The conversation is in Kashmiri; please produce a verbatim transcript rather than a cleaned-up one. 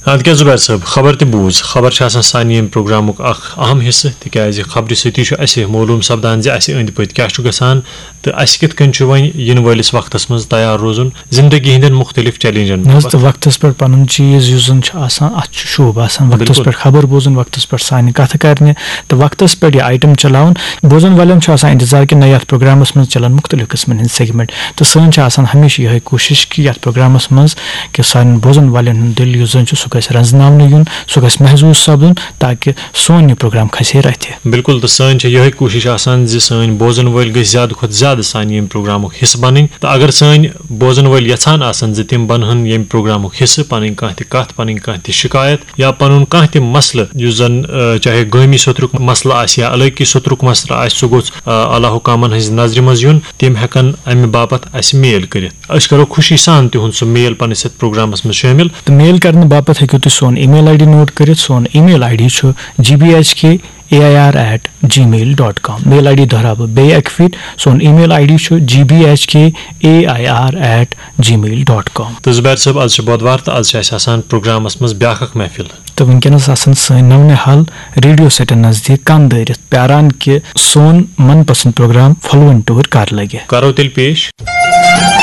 اَدٕ کیٛاہ زُبیر صٲب، خبر تہِ بوٗز۔ خبر چھِ آسان سانہِ ییٚمہِ پروگرامُک اکھ اہم حصہٕ، تِکیٛازِ خبرِ سۭتی چھُ اَسہِ معلوٗم سپدان زِ اَسہِ أنٛدۍ پٔتۍ کیٛاہ چھُ گژھان تہٕ اَسہِ کِتھ کٔنۍ چھُ وۄنۍ یِنہٕ وٲلِس وقتس منٛز تیار روزُن زندگی ہٕنٛدٮ۪ن مُختٔلِف چیلنجن نہ حظ، باپتھ۔ تہٕ وقتس پٮ۪ٹھ پنُن چیٖز یُس زن چھُ آسان، اتھ چھُ شوٗب آسان۔ وقتس بِلکُل۔ پٮ۪ٹھ خبر بوزُن، وقتس پٮ۪ٹھ سانہِ کتھٕ کرنہِ، تہٕ وقتس پٮ۪ٹھ یہِ آیٹم چلاوُن۔ بوزن والٮ۪ن چھُ آسان انتظار کہِ نہ، یتھ پروگرامس منٛز چلن مُختٔلِف قٕسمن ہٕنٛدۍ سیگمنٹ، تہٕ سٲنۍ چھِ آسان ہمیشہِ یِہے کوٗشش کہِ یتھ پروگرامس منٛز کہِ سانٮ۪ن بوزن والٮ۪ن ہُنٛد دِل یُس زن چھُ، سُہ گژھِ رنزناونہٕ یُن، سُہ گژھِ محظوظ سپدُن، تاکہِ سون یہِ پروگرام کھسہِ ہے رتھِ۔ بِلکُل، تہٕ سٲنۍ چھےٚ یِہے کوٗشِش آسان زِ سٲنۍ بوزن وٲلۍ گٔژھۍ زیادٕ کھۄتہٕ زیادٕ سانہِ ییٚمہِ پروگرامُک حصہٕ بنٕنۍ۔ تہٕ اگر سٲنۍ بوزن وٲلۍ یژھان آسن زِ تِم بنہن ییٚمہِ پروگرامُک حصہٕ، پنٕنۍ کانٛہہ تہِ کتھ، پنٕنۍ کانٛہہ تہِ شکایت یا پنُن کانٛہہ تہِ مسلہٕ، یُس زن، آ، چاہے گٲمی سوٚترُک مسلہٕ آسہِ یا علاقی سوٚترُک مسلہٕ آسہِ، سُہ گوٚژھ، آ، اعلیٰ حکامن ہٕنٛزِ نظرِ منٛز یُن۔ تِم ہٮ۪کن امہِ باپتھ اسہِ میل کٔرِتھ۔ أسۍ کرو خوشی سان تِہُنٛد سُہ میل پننِس یتھ پروگرامس منٛز شٲمِل۔ تہٕ میل کرنہٕ باپتھ ہیٚکِو تُہۍ سون email ID note کٔرِتھ۔ سون email ID چھُ G B H K A I R at gmail dot com۔ Mail ID دۄہراو بہٕ بیٚیہِ اکہِ پھِرِ۔ سون email ID چھُ G B H K A I R at gmail dot com۔ تہٕ زُبیر صٲب، از چھُ بۄدوار تہٕ از چھِ اسہِ آسان پروگرامس منٛز بیاکھ اکھ محفل۔ تہٕ وٕنکیٚنس آسن سٲنۍ نونہِ حال ریڈیو سیٹن نزدیٖک کن دٲرِتھ پیاران کہِ سون من پسند پروگرام پھۄلوٕنۍ ٹوٗرۍ کر لگہِ۔ کرو تیٚلہِ پیش۔